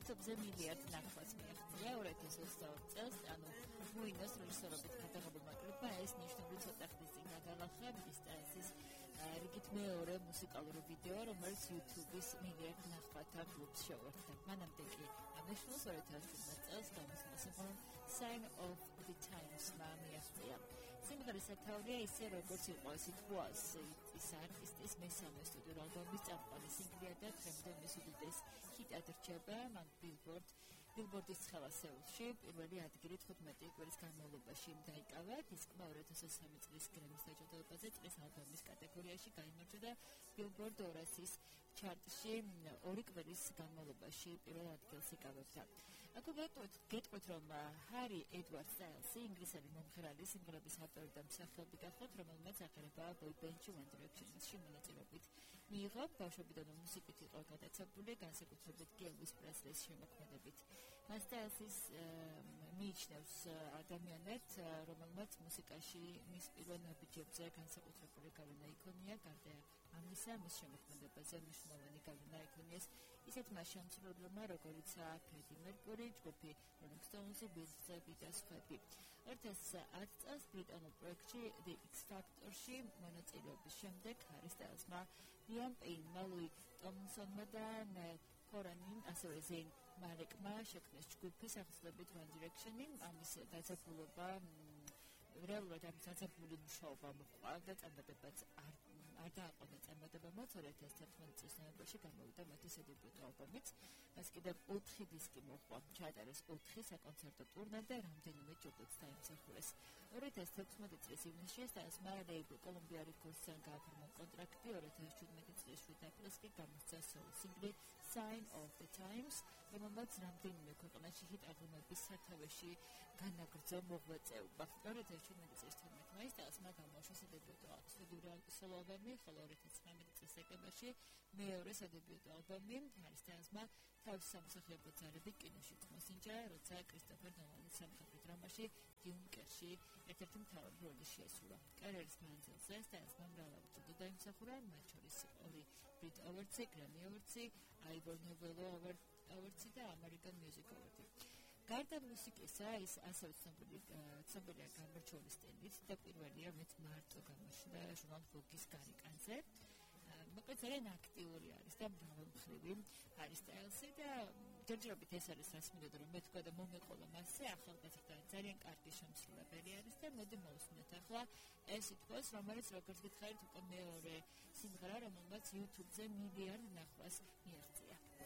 YouTube-ზე მილიარდ ნახვას მიაღწია 2022 წელს, ანუ მუინოს რეჟისორობით გადაღებულმა კლიპმა ეს ნიშნული ცოტა ხნის წინ გადალახა მისტაესის რიგით მეორე მუსიკალური ვიდეო, რომელიც YouTube-ის მილიარდ ნახვათა კლუბს შეუერთდა. მანამდე კი ამაშვილს 2017 წელს გამოსულა სიმღერა Sign of the Times-მა მიაღწია. სიმღერის სათაურია ისე როგორც იყო It Was, ის არტისტის მესამე სტუდიურ ალბომის წამყვანი სინგლია და დღემდე მის უდიდეს ჰიტად რჩება. მან ბილბორდის ცხელა სეულში პირველი ადგილი 15 კვირის განმავლობაში დაიკავა. დისკმა 2023 წლის გრემის დაჯილდოებაზე წლის ალბომის კატეგორიაში გაიმარჯვა და ბილბორდ 200-ის ჩარტში 2 კვირის განმავლობაში პირველ ადგილს იკავებდა. აქ გეტყვით, რომ ჰარი ედვარდ სტაილსი ინგლისელი მომღერალი სიმღერების ავტორი და მსახიობი გახლავთ, რომელმაც აღიარება ბოიბენდში One Direction-ში მონაწილეობით მიიღო. ბავშვობიდან მუსიკით იყო გადაცებული, განსაკუთრებით კი ელვის პრესლის შემოქმედებით. მას სტაილსის მიიჩნევს ადამიანად, რომელმაც მუსიკაში მის პირველ ნაბიჯებზე განსაკუთრებული გავლენა იქონია. გარდა ამისა, მის შემოქმედებაზე მნიშვნელოვანი გავლენა იქონიეს ისეთმა შემსრულებლებმა, როგორიცაა ფრედი მერკური, ჯგუფი Rolling Stones, Beatles და სხვები. 2010 წელს ბრიტანულ პროექტში The X Factor-ში მონაწილეობის შემდეგ ჰარი სტაილსმა Liam Payne-მა, Louis Tomlinsonმა და Niall Horan-ին, ასევე Zayn Malik-მა შექმნეს ჯგუფის ახსნებით One Direction-ი. ამის დაძაბულობა რეალურად ამის დაძაბული მუშაობა მოყვა და წარმატებაც არ დააყონა წარმატებამ. 2011 წლის ნოემბერში გამოვიდა მათი სადებიუტო ალბომიც. მას კიდევ 4 დისკი მოჰყვა, ჩაატარეს 4 საკონცერტო ტურნე და რამდენიმე ჯილდოც დაიმსახურეს. 2016 წლის ივნისში სტაილსმა ლეიბლ Columbia Records-თან გააფორმა კონტრაქტი. 2017 წლის 7 აპრილს კი გამოსცა სოლო სინგლი Sign of the Times, რომელმაც რამდენიმე ქვეყანაში ჰიტ ალბომების სათავეში განაგრძო მოღვაწეობა. 2017 წლის 12 მაისს სტაილსმა გამოუშვა სადებიუტო სოლო ალბომი, ხოლო 2019 წლის დეკემბერში მეორე სადებიუტო ალბომი. ჰარი სტაილსმა თავის სამსახიობო ძალებით კინოში მოსინჯა, როცა კრისტოფერ ნოლანის სამხედრო დრამაში დიუნკერში ერთ-ერთი მთავარი როლი შეასრულა. კარიერის მანძილზე სტაილსმა მრავალი ჯილდო დაიმსახურა, მათ შორის 2 Brit Awards, Grammy Awards, Ivor Novello Awards და American Music Award. გარდა მუსიკისა, ის ასევე ცნობილია გამორჩეული სტილით და პირველია, რომელიც მარტო გამოჩნდა ჟურნალ Vogue-ის გარეკანზე. მოკლედ ძალიან აქტიური არის და მრავალმხრივი ჰარი სტაილსი და ჯერჯერობით ეს არის რასმიდოდ, რომ მე თქვა და მომეყოლა მასზე, ახალგაზრდა ძალიან კარგი შემსრულებელი არის და მოდი მოვუსმინოთ ახლა ეს It Was, რომელიც როგორც გითხარით უკვე მეორე სიმღერა, რომელმაც YouTube-ზე მილიარდ ნახვას მიაღწია.